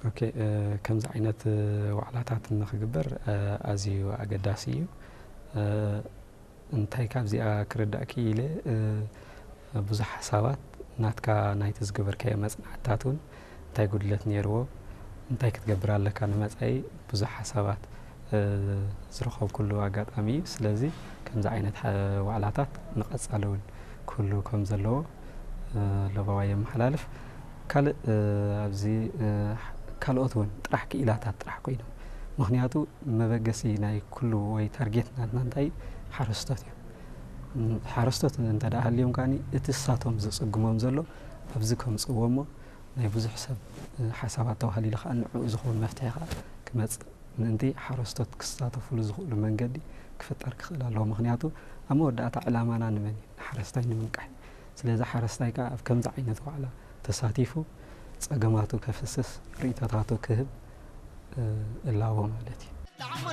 ኦኬ፣ ከምዚ ዓይነት ዋዕላታት ንክግበር ኣዝዩ ኣገዳሲ እዩ። እንታይ ካብዚኣ ክርዳእ ክኢለ፣ ብዙሕ ሓሳባት ናትካ፣ ናይቲ ዝገበርካዮ መፅናዕትታት እውን እንታይ ጉድለት ነይርዎ፣ እንታይ ክትገብር ኣለካ ንመፃኢ፣ ብዙሕ ሓሳባት ዝረኸብኩሉ ኣጋጣሚ እዩ። ስለዚ ከምዚ ዓይነት ዋዕላታት ንቐፃሊ እውን ክህሉ ከም ዘለዎ ለበዋ የመሓላልፍ። ካልእ ኣብዚ ካልኦት እውን ጥራሕ ክኢላታት ጥራሕ ኮይኖም፣ ምክንያቱ መበገሲ ናይ ኩሉ ወይ ታርጌት ናትና እንታይ ሓረስቶት እዮም። ሓረስቶት እንተ ደኣ ሃልዮም ከኣ እቲ እሳቶም ዝጽግሞም ዘሎ ኣብዚ ከምጽእዎ እሞ ናይ ብዙሕ ሰብ ሓሳባት ተባህሊሉ ከኣ ንዕኡ ዝኸውን መፍትሒ ከኣ ክመጽእ ምእንቲ ሓረስቶት ክሳተፉሉ ዝኽእሉ መንገዲ ክፍጠር ክኽእል ኣለዎ። ምክንያቱ ኣብ መወዳእታ ዕላማና ንመን እዩ? ንሓረስታይ ንምንቃሕ። ስለዚ ሓረስታይ ከኣ ኣብ ከምዚ ዓይነት ዋዕላ ተሳቲፉ ጸገማቱ ከፍስስ፣ ርእይቶታቱ ክህብ እላቦ ማለት እዩ።